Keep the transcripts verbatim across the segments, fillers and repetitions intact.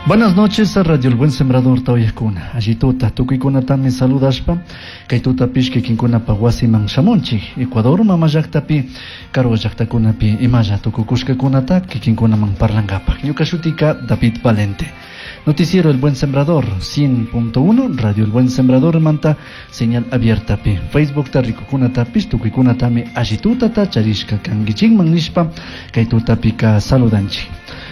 Buenas noches a Radio El Buen Sembrador tawayakuna. Allituta tukuykunatami saludashpa kay tutapish kikinkunapa wasiman shamunchik. Ecuador mama llaqtapi karu llaqtakunapi imalla tukukushkakunata kikinkunaman parlankapaq. Ñuka shutika David Valente. Noticiero El Buen Sembrador cien punto uno, Radio El Buen Sembrador manta señal abierta pi. Facebook ta rikukunatapish tukuykunatami allitutata charishka kankichikman nishpa kay tutapika saludanchik.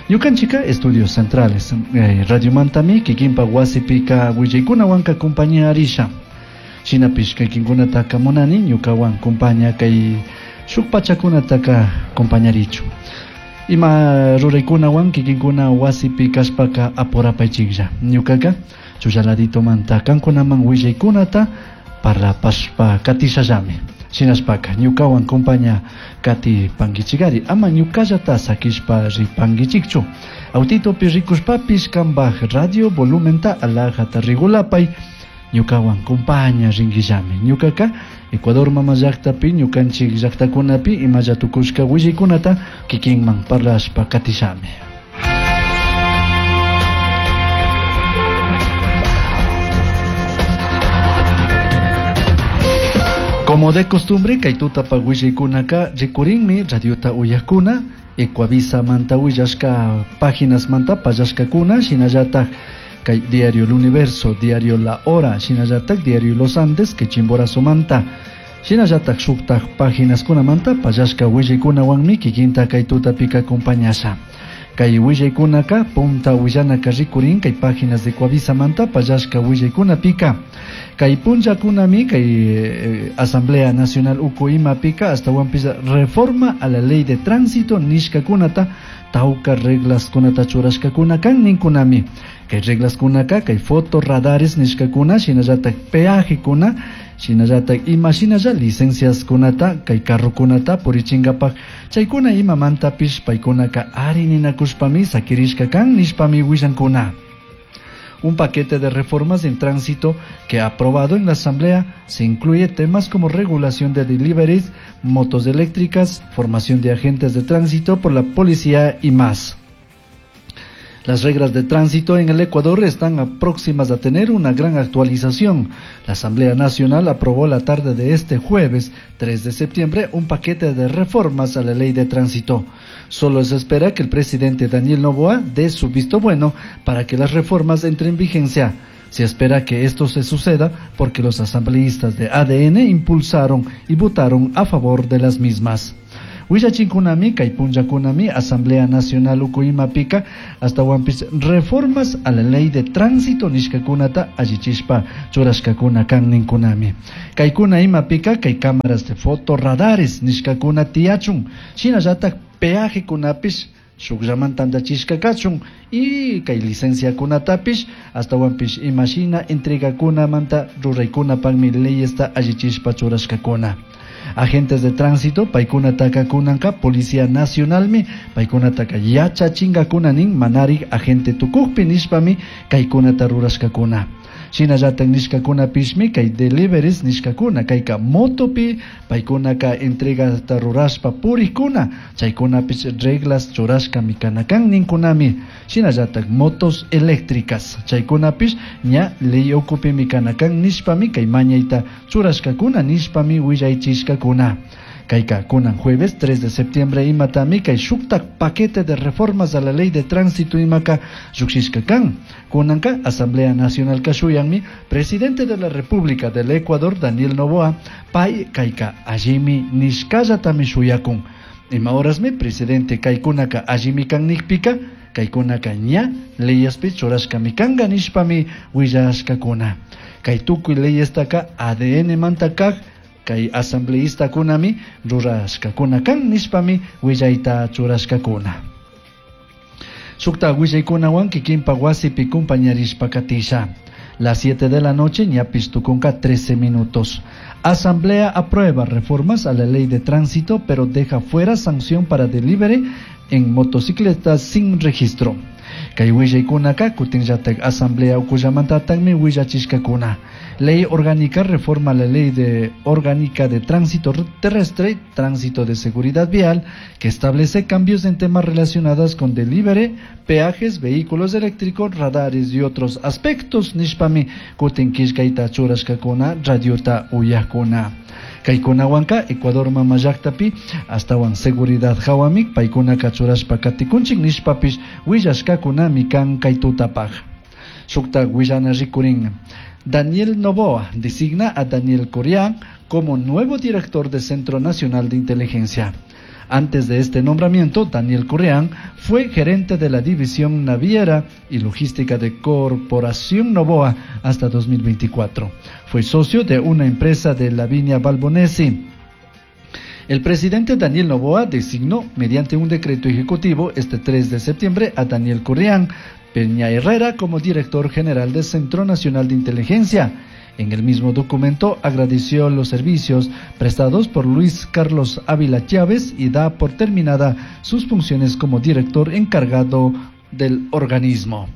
Ñukanchika Estudios Centrales, eh, Radio Mantami, kikinpa wasipika willaykunawanka compañía arisha. Shinapish kaykinkunataka munani ñukawan compañía kay shuk pachakunataka compañarichu. Ima ruraykunawan kikinkuna wasipi kashpaka apurapaychiklla. Ñukaka chullaladito manta kankunaman willaykunata parlapashpa katishallami. Shinashpaka ñukawan compañía kati pankichikari ama ñukallata sakishpa ripankichikchu. Autitopi rikushpapish kambaj radio volumenta alajata regulapay ñukawan compañía rinquillami. Ñukaka Ecuador mama llaqtapi ñukanchik llaqtakunapi imalla tukushka willaykunata kikinman parlashpa katishami. Como de costumbre, kay tutapa willaykunaka rikurinmi radiota uyakuna, Ecuavisa manta willashka páginas manta pallashkakuna, shinallataj kay Diario El Universo, Diario La Hora, shinallataj Diario Los Andes, kay Chimborazo manta, shinallataj shuktaj páginas kunamanta pallashka willaykunawanmi kikinta kay tutapika acompañasha. Kay willaykunaka punta willanaka rikurin kay páginas de Ecuavisa manta pallashka willaykunapika. Kay punllakunami kay, eh, Asamblea Nacional uku imapika hasta wampisa reforma a la ley de tránsito nishkakunata tauka reglas kunata churashkakuna kan ninkunami. Kay reglas kunaka kay fotorradares nishkakuna shinallatak peaje kuna shinallatak ima shinalla licencias kunata kay carro kunata purichinkapaj chaykuna imamantapish paykunaka ari ninakushpami sakirishka kan nishpami willankuna. Un paquete de reformas en tránsito que ha aprobado en la Asamblea se incluye temas como regulación de deliveries, motos eléctricas, formación de agentes de tránsito por la policía y más. Las reglas de tránsito en el Ecuador están próximas a tener una gran actualización. La Asamblea Nacional aprobó la tarde de este jueves, tres de septiembre, un paquete de reformas a la ley de tránsito. Solo se espera que el presidente Daniel Noboa dé su visto bueno para que las reformas entren en vigencia. Se espera que esto se suceda porque los asambleístas de A D N impulsaron y votaron a favor de las mismas. Willachinkunami, kay punllakunami, Asamblea Nacional ukuimapika, hasta wampis reformas a la ley de tránsito nishkakunata allichishpa churashkakuna kan ninkunami. Kaykuna imapika, kay cámaras de fotorradares nishkakuna tiyachun, shinallatak peaje kunapish shukllaman tantachishka kachun y kay licencia kunatapish hasta wampish imashina entregakunamanta ruraykunapakmi leyesta allichishpa churashkakuna. Agentes de tránsito, paykuna takakunanka, Policía Nacionalmi, paykuna taka yachachingakunanin, manarik agente tukukpi nishpami, kaykunata rurashkakuna. Shinallatak nishkakunapishmi, kay deliveries nishkakuna, kayka motopi, paykunaka entregata rurashpa purikuna, chaykunapish reglas churashkami kanakan ninkunami. Shinallatak motos eléctricas, chaykunapish ña ley ukupimi kanakan nishpami, kay mañayta churashkakuna nishpami willaychishkakuna. Kayka kunan jueves tres de septiembre imatami kay shuktak paquete de reformas a la ley de tránsito imaka llukshishka kan. Kunanka Asamblea Nacional kashuyanmi presidente de la República del Ecuador Daniel Noboa pay kayka allimi nishkallatami shuyakun. Ima horasmi presidente kaykunaka allimi kan nikpika kaykunaka ña leyespi churashkami kanka nishpami willashkakuna. Kay tukuy leyestaka A D N manta kak kay asambleístakunami rurashkakuna kan nishpami willayta churashkakuna. Shukta willaykunawan kikinpa wasipi kumpañarishpa katisha. Las siete de la noche, ñapis tukunka trece minutos. Asamblea aprueba reformas a la ley de tránsito, pero deja fuera sanción para delivery en motocicletas sin registro. Kay willaykunaka kutinllatak asamblea ukullamantataqmi willachishkakuna. Ley orgánica reforma la ley de orgánica de tránsito terrestre, tránsito de seguridad vial, que establece cambios en temas relacionados con delivery, peajes, vehículos eléctricos, radares y otros aspectos. Nishpami kutin killkayta churashkakuna radiota uyakuna. Kaykunawanka Ecuador mama llaktapi astawan seguridad hawami paykunaka churashpa katikunchik nishpapish willashkakunami kan kay tutapaj. Shukta willana rikurin. Daniel Noboa designa a Daniel Correa como nuevo director del Centro Nacional de Inteligencia. Antes de este nombramiento, Daniel Correa fue gerente de la División Naviera y Logística de Corporación Noboa hasta dos mil veinticuatro. Fue socio de una empresa de Lavinia Valbonesi. El presidente Daniel Noboa designó mediante un decreto ejecutivo este tres de septiembre a Daniel Correa Peña Herrera como director general del Centro Nacional de Inteligencia. En el mismo documento agradeció los servicios prestados por Luis Carlos Ávila Chávez y da por terminada sus funciones como director encargado del organismo.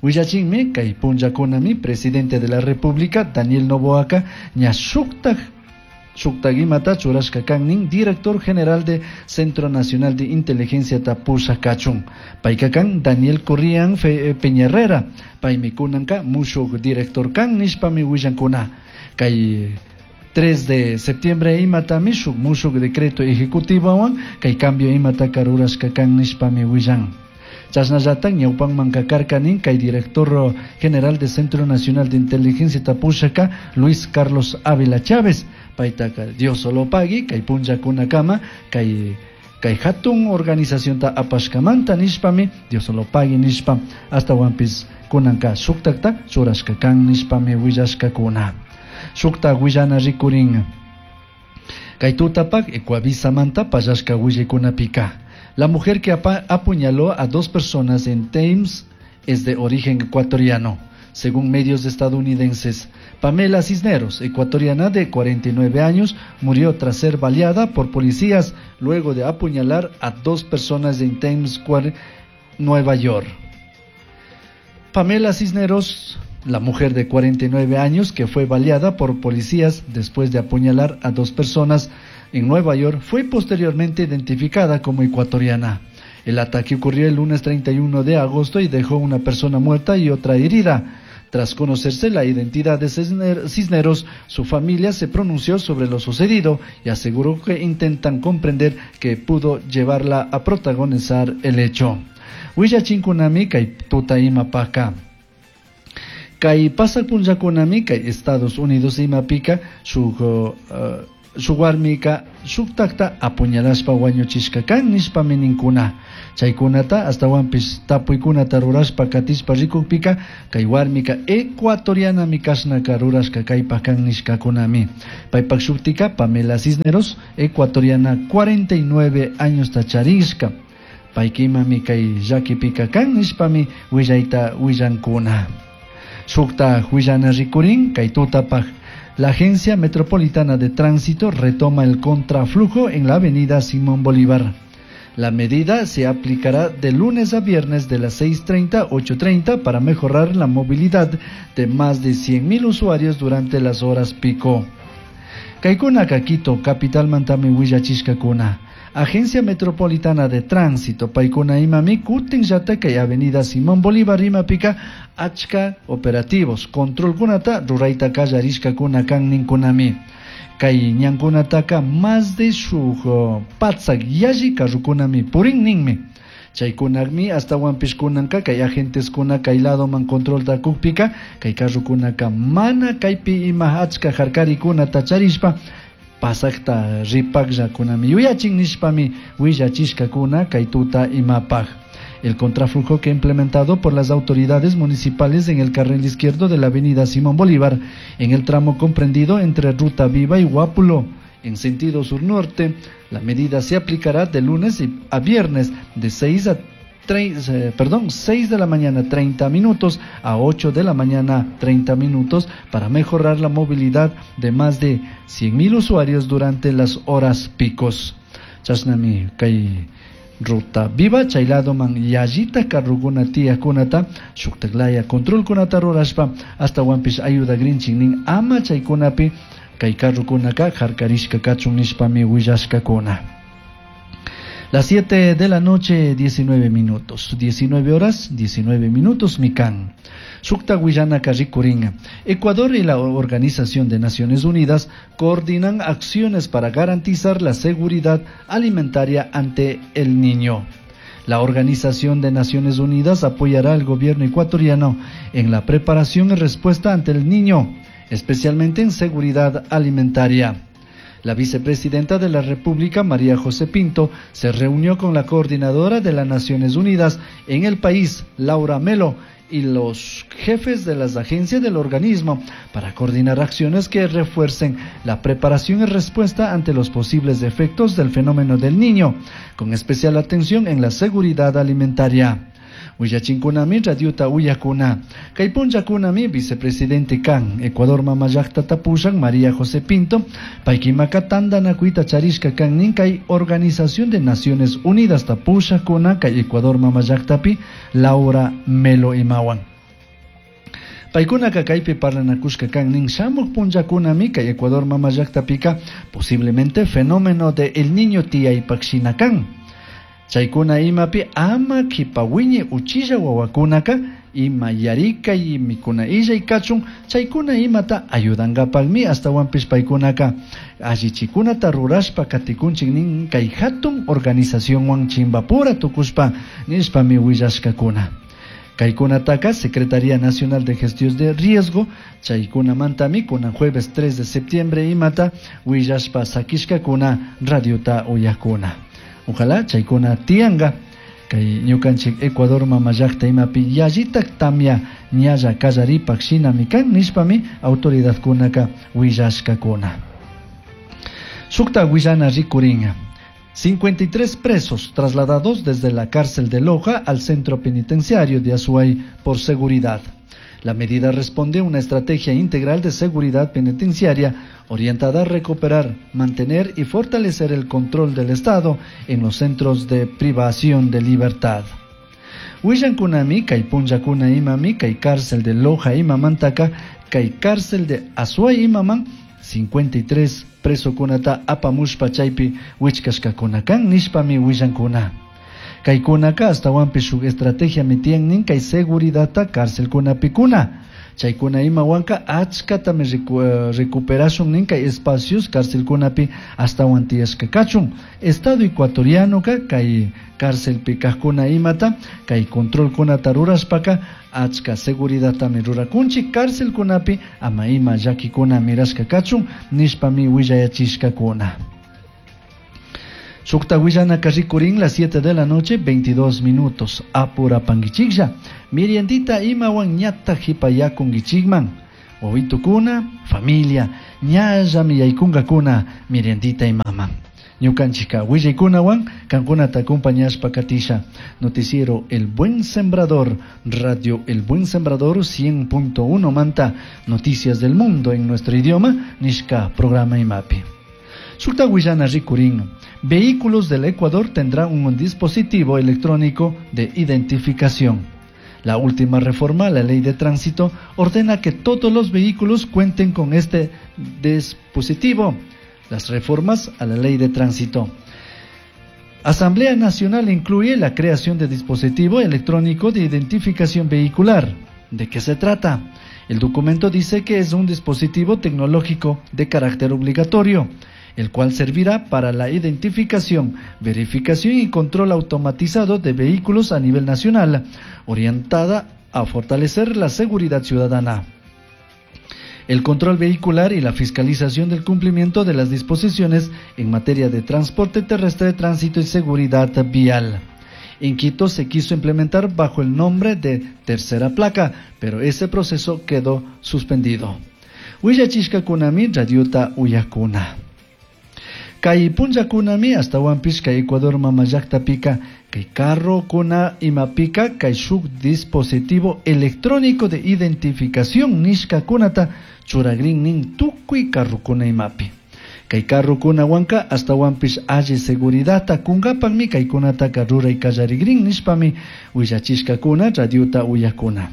Willachinmi kay punllakunami presidente de la República Daniel Noboaka ña shuktaj shuktagimata churashka kannin director general de Centro Nacional de Inteligencia tapusha kachun. Payka kan Daniel Corrián Peña Herrera, paymi kunanka mushuk director kan nishpami willankuna. Kay tres de septiembre imatami shuk mushuk decreto ejecutivowan kay cambio imataka rurashka kan nishpami willan. Chashnallata ñawpanman kakarkanin kay director general de Centro Nacional de Inteligencia tapushaka Luis Carlos Ávila Chávez. Paytaka Dios solo pagui kay punllakunakama kay kay hatun organización ta apashkamanta nishpami Dios solo pagui nishpa hasta wampis kunanka shuktakta churashka kan nishpami willashkakuna. Shukta willana rikurin kay tutapak Ecuavisamanta pallashka willaykunapika. La mujer que apuñaló a dos personas en Thames es de origen ecuatoriano, según medios estadounidenses. Pamela Cisneros, ecuatoriana de cuarenta y nueve años, murió tras ser baleada por policías luego de apuñalar a dos personas en Times Square, Nueva York. Pamela Cisneros, la mujer de cuarenta y nueve años que fue baleada por policías después de apuñalar a dos personas en Nueva York, fue posteriormente identificada como ecuatoriana. El ataque ocurrió el lunes treinta y uno de agosto y dejó una persona muerta y otra herida. Tras conocerse la identidad de Cisneros, su familia se pronunció sobre lo sucedido y aseguró que intentan comprender que pudo llevarla a protagonizar el hecho. Huillachinkunami kay tuta imapaka. Kay pasakpunllakunami kay Estados Unidos imapika shuk uh, shuk warmika shuktakta apuñalashpa wañuchishka kan nishpami ninkuna. Chaykunata astawanpis tapuykunata rurashpa katishpa rikukpika kay warmika ecuatorianami kashnaka rurashka kaypak kan nishkakunami. Paypak shuktika Pamela Cisneros, ecuatoriana, cuarenta y nueve años tacharishka. Paykimami kay llakipika kan nishpami willayta willankuna. Shukta willana rikurin kay tutapaj. La Agencia Metropolitana de Tránsito retoma el contraflujo en la avenida Simón Bolívar. La medida se aplicará de lunes a viernes de las seis treinta a ocho treinta para mejorar la movilidad de más de cien mil usuarios durante las horas pico. Kaikuna Quito, capital mantami willachishkakuna. Agencia Metropolitana de Tránsito, paikuna imami, kutin yataka y avenida Simón Bolívar imapika, achka operativos, control kunata, ruraita kallarishka kuna kan ninkunami. Kay ñankunataka más de shuk patsak yalli karrukunami purin ninmi. Chaykunakmi hasta wampishkunanka kay agentes kuna kay lado man control da kukpika, kay karrukunaka mana kaypi ima achka harkarikuna tacharishpa, pasakta ripakllakunami yuyachin nishpami willachishkakuna kay tuta imapaj. El contraflujo que implementado por las autoridades municipales en el carril izquierdo de la avenida Simón Bolívar, en el tramo comprendido entre Ruta Viva y Guápulo, en sentido sur-norte, la medida se aplicará de lunes a viernes de seis a tres, eh, perdón, seis de la mañana treinta minutos a ocho de la mañana treinta minutos para mejorar la movilidad de más de cien mil usuarios durante las horas picos. Chasnami kay Ruta Viva chay ladoman yallita carrukuna tiyakunata shuktaklaya controlkunata rurashpa ashtawanpish ayudagrinchik nin ama chaykunapi kay carrukunaka harkarishka kachun nishpami willashkakuna. Las siete de la noche, diecinueve minutos. diecinueve horas, diecinueve minutos, mikan. Shukta Guillana rikurin. Ecuador y la Organización de Naciones Unidas coordinan acciones para garantizar la seguridad alimentaria ante el niño. La Organización de Naciones Unidas apoyará al gobierno ecuatoriano en la preparación y respuesta ante el niño, especialmente en seguridad alimentaria. La vicepresidenta de la República, María José Pinto, se reunió con la coordinadora de las Naciones Unidas en el país, Laura Melo, y los jefes de las agencias del organismo para coordinar acciones que refuercen la preparación y respuesta ante los posibles efectos del fenómeno del niño, con especial atención en la seguridad alimentaria. Willachinkunami radiota uyakuna. Kay punllakunami vicepresidente kan Ecuador mamallakta tapushan María José Pinto paykimaka tantanakuyta charishka kan nin kay Organización de Naciones Unidas tapushakuna kay Ecuador mamallaktapi Laura Melo imawan. Paykunaka kaypi parlanakushka kan nin shamuq punllakunami kay Ecuador mamallaktapika posiblemente fenómeno de el niño tiyaypaq shina kan. Chaykuna imapi ama kipawiñi uchilla wawakunaka ima yarikay mikuna illay kachun chaykuna imata ayudankapaqmi astawanpish paykunaka allichikunata rurashpa katikunchik nin kay hatun organizacionwan chimbapura tukushpa nishpami willashkakuna. Kaykunataka Secretaría Nacional de Gestión de Riesgo chaykunamantami kunan jueves tres de septiembre imata willashpa sakishkakuna radiota uyakuna. Ojalá chaykuna tianga kay ñukanchik Ecuador mamallakta imapi yallitak tamya ñalla kallaripak shinami kan nishpami autoridadkunaka willashkakuna. Shukta willana rikurin. cincuenta y tres presos trasladados desde la cárcel de Loja al centro penitenciario de Azuay por seguridad. La medida responde a una estrategia integral de seguridad penitenciaria orientada a recuperar, mantener y fortalecer el control del Estado en los centros de privación de libertad. Willankunami, kay punllakuna imami, kay cárcel de Loja imamantaka, kay cárcel de Azuay imaman, cincuenta y tres presokunata apamushpa chaypi wichkashkakunakan nishpami willankuna. Kaykunaka astawanpi shuk estrategia mitian kay seguridadta cárcelkunapikuna. Chaykuna imawanka achkatami recu-, recuperashun nin kay espacios cárcelkunapi astawan tiyashka kachun. Estado ecuatoriano ka kay cárcelpi kajkuna imata kay controlkunata rurashpaka achka seguridadtami rurakunchik cárcelkunapi ama ima llakikuna mirashka kachun nishpami willayachishkakuna. Shukta willanaka rikurin las siete de la noche, veintidós minutos. Apurapanguichiklla. Miriendita imawan ñata hipayakunguichikman. Wawitukuna, familia, ñallami yaykungakuna, miriendita imaman. Ñukanchika willaykunawan, kankunata acompañashpa katisha. Noticiero El Buen Sembrador, Radio El Buen Sembrador cien punto uno Manta, Noticias del Mundo en nuestro idioma, nishka programa imapi. Shukta willana rikurin. Vehículos del Ecuador tendrán un dispositivo electrónico de identificación. La última reforma a la ley de tránsito ordena que todos los vehículos cuenten con este dispositivo. Las reformas a la ley de tránsito. Asamblea Nacional incluye la creación de dispositivo electrónico de identificación vehicular. ¿De qué se trata? El documento dice que es un dispositivo tecnológico de carácter obligatorio, el cual servirá para la identificación, verificación y control automatizado de vehículos a nivel nacional, orientada a fortalecer la seguridad ciudadana. El control vehicular y la fiscalización del cumplimiento de las disposiciones en materia de transporte terrestre, tránsito y seguridad vial. En Quito se quiso implementar bajo el nombre de tercera placa, pero ese proceso quedó suspendido. Willachishkakunami radiota uyakuna. Kay punllakunami astawanpish kay Ecuador mamallaktapika kay carro kuna imapika kay shuk dispositivo electrónico de identificación nishkakunata churagrin nin tukuy carrokuna imapi. Kay carrokunawanka ashtawanpish alli seguridadta kunkapakmi kaykunataka ruray kallarigrin nishpami willachishkakuna radiota uyakuna.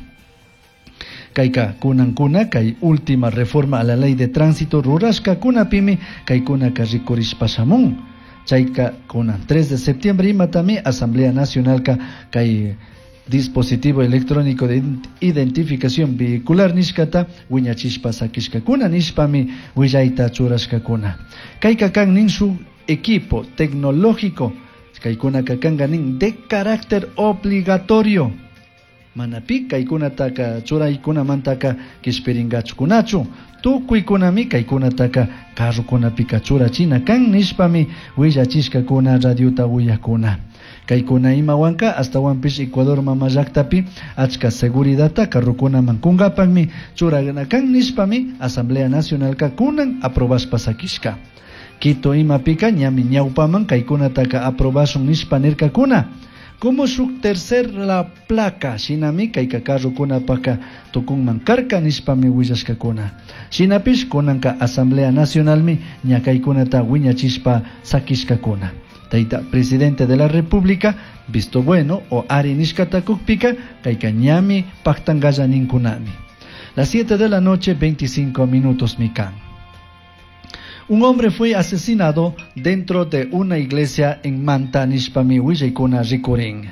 Kayka kunankuna kay última reforma a la ley de tránsito rurashkakunapimi kaykunaka rikurishpa shamun. Chayka kunan tres de septiembre imatami Asamblea Nacionalka kay dispositivo electrónico de identificación vehicular nishkata wiñachishpa sakishkakuna nishpami willayta churashkakuna. Kayka kan nin shuk equipo tecnológico kaykunaka kanka nin de carácter obligatorio. Mana pi kaykunataka churaykunamantaka kishpirinkachukunachu tukuykunami kaykunataka carrokunapika churachina kan nishpami willachishkakuna radiota uyakuna. Kaykuna imawanka ashtawanpish Ecuador mama llaktapi achka seguridadta carrokunaman kunkapakmi churana kan nishpami Asamblea Nacionalka kunan aprobashpa sakishka. Quito imapika ñami ñawpaman kaykunataka aprobashun nishpa nirkakuna. Como shuk tercer la placa shinami kayka carrokunapaka tukunman karka nishpami willashkakuna. Shinapish kunanka Asamblea Nacionalmi ña kaykunata wiñachishpa sakishkakuna. Tayta presidente de la República visto bueno o ari nishkata kukpika kayka ñami paktankalla ninkunami. Las siete de la noche veinticinco minutos mikan. Un hombre fue asesinado dentro de una iglesia en Manta nishpami willaykuna rikurin.